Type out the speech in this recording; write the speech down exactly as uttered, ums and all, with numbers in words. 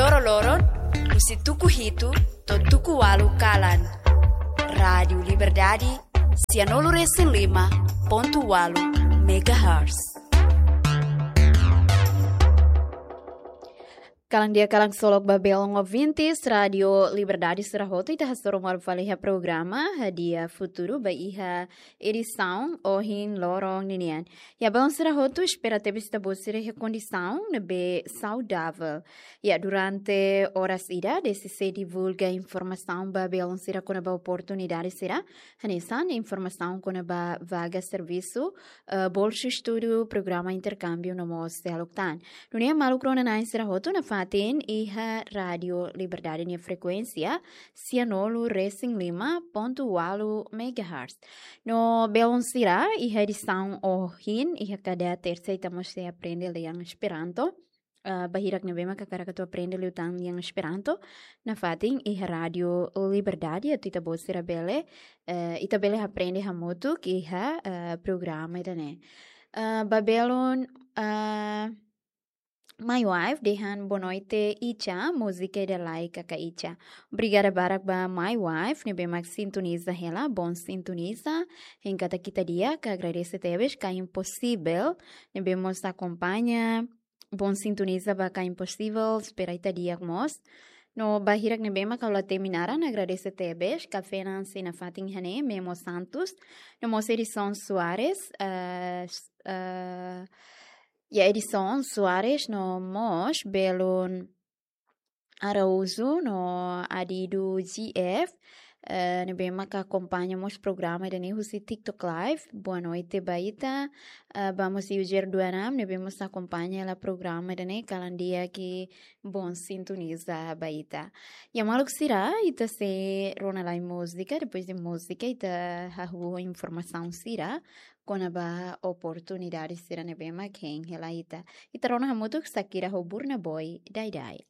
Loroloron, husi tuku hitu to'o tuku ualu kalan. Rádiu Liberdade, sianulu resin lima pontu ualu megahertz. Kalan di'ak, kalan solok ba belun ouvintes Rádiu Liberdade sira hotu, ita hasoru malu fali iha programa Hadi'a Futuru ba iha edisaun ohin loron ninian. Ya, belun sira hotu, espera tebes ita-boot sira iha kondisaun ne'ebé saudavel. Ya, durante oras ida, DCC divulga informasaun ba belun sira kona-ba oportunidade sira, hanesan informasaun kona-ba vaga servisu, eh, bolsa estudu, programa interkámbiu no mós seluk tan. Nune'e maluk rona-na'in sira hotu nafatin iha Rádiu Liberdade nia frekuénsia, sianulu resin lima pontu ualu megahertz. No belun sira, iha edisaun ohin, iha kada tersa ita mós sei aprende lian Esperanto. Ah, ba hirak ne'ebé mak hakarak atu aprende liután lian Esperanto, nafatin iha Rádiu Liberdade, atu ita-boot sira bele, eh, ita bele aprende hamutuk iha, eh, programa ida-ne'e. Ah, ba belun, ah, My Wife dehan boa noite Icha, múzika ida lai kaka Icha. Obrigada barak ba My Wife ne'ebé mak sintoniza hela, bom sintoniza. Hein katak ita di'ak, agradese tebes. Ka Impossível ne'ebé mós akompaña, bom sintoniza ba Ka Impossível, espera ita di'ak mós. No ba hirak ne'ebé mak ha'u la temi naran, agradese tebes. Kafé Nancy nafatin iha ne'e, Memo Santos, no mós Edison Soares, eh, s-, eh, ya, Edison Soares, no mós belun Araújo, no Adidu G F, eh, ne'ebé mak akompaña mós programa ida-ne'e husi TikTok Live. Boa noite ba ita. Eh, ba mós Yujer Duanam, ne'ebé mós akompaña hela programa ida-ne'e, kalan di'ak, bom sintoniza ba ita. Ya maluk sira, ita sei rona lai múzika, depois de múzika ita hahú informasaun sira kona-ba oportunidade sira ne'ebé mak hein hela ita. Ita rona hamutuk Shakira ho Burna Boy, Daidai.